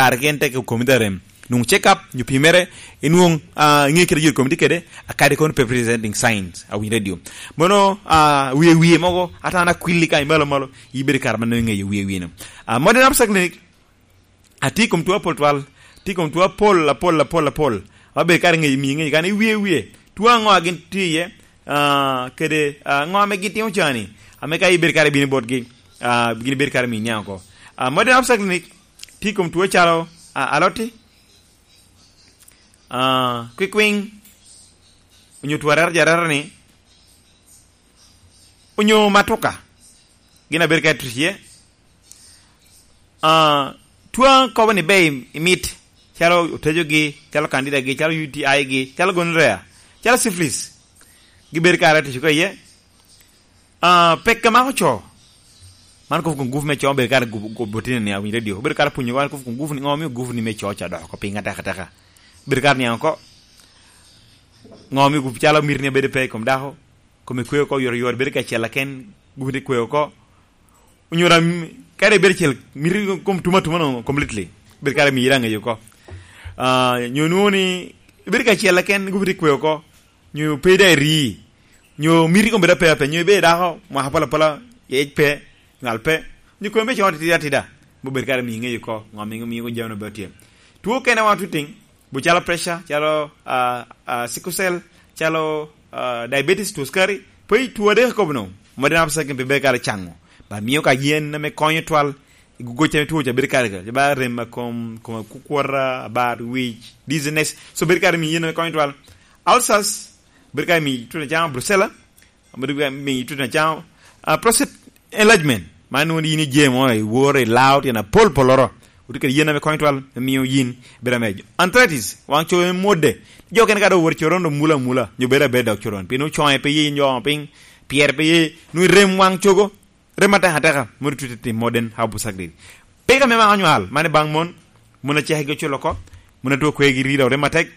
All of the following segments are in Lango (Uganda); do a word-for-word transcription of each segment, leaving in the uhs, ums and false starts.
kare gen tek okomi da rem. Nwoŋ check up, nyo pimere, inwoŋ, ah, iŋe kite yot komi tye kede, akadi kono pe presenting signs, a winy radio. Mono, ah, wie wie mogo, ata an akwilli kany malo malo, ibedo kare man iŋeyo wie wie no. Ah, modern absa clinic, atye i kom two apol twal, atye i kom two apol, apol, apol, apol. Abedo kare ŋeyo, miyo ŋeyo kan iwie wie. Two aŋo a gin tye iye, ah, kede, ah, ŋo ame gin timo cani, ame ka ibedo kare bino botgi, ah, gin ibedo kare miyo niaŋ oko. Ah, modern absa clinic, tye i kom two calo, ah, aloti, ah, kwikwiŋ, onyo two areta jareta ni, onyo matuka, gin abedo ka tuc iye. Ah, two kobo ni be i mit, calo otejogi, calo kandidagi, calo U T I gi, calo gonorrhea, calo syphilis, gibedo kare tuc oko iye. Ah, pek a mako co. Man kobo kom gupu me co, bedo kare gupu, gupu botine ni awinyo radio. Bedo kare punyo, man kobo kom gupu ni, ŋo omio gupu ni me co ca dok oko piny ateka teka. Bedo kare niaŋ oko. Ŋo omio gupu calo miti ni abedo pe i kom dako. Kome kwe oko, yoro yoro, bedo kacel aken, gupu ni kwe oko. Onyo ram, kare ibedo cel, miti kom tuma tuma no completely. Bedo kare mira ŋeyo oko. Ah, nyo nwoŋo ni, ibedo kacel aken, gupu ni kwe oko. Nyo pe ida iri, nyo miti kom bedo ape ape, nyo ibe dako, mwaka pala pala, yec pe, ngal pe, nyo kwem pe coŋo atida atida, me obed kare miyo iŋeyo oko, ŋo miyo, miyo jami no bene tye. Two kene wan tuting, bu calo pressure, calo, ah, ah, sickle cell, calo, ah, diabetes, two sukari, pe two adek akobo no, modern absa clinic pe bedo kare caŋo, ba miyo ka yen ame konyo twal, i goc ame two ca bedo kare, ba rem a kom, kom akukwota, abar, wic, dizziness, so bedo kare miyo yen ame konyo twal. Ulcers, bedo ka imiyo itut acama, brucella, bedo ka imiyo itut acama, ah, prostate enlargement, man nwoŋo yin ije mo, iworo, ilao, tyen apol polloro, otye kede yen ame konyo twal, me miyo yin bedo amejo. Arthritis, waŋ cogo me mwodde, jo kene ka dok owoto coron, dok mulo amula, nyo bedo abeda dok coron, pien ocoŋe pe ye, nyo piny, pyere pe ye, nwoŋo irem waŋ cogo, rem atek ateka, mono tute tim modern herbal surgery. Peko ame mako nywal, mano baŋ mon, mon acekgi oculo oko, mon atwo kwegi riro rem atek,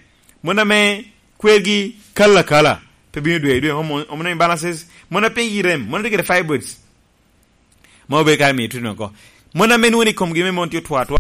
mon ame kwegi kalo akala, pe bino dwe i dwe, hormone, hormone imbalances, mon a pigi rem, mon a tye kede fibroids, ma obedo kare miyo tute oko. Mon ame nwoŋo ni komgi me mon tye otwo atwa,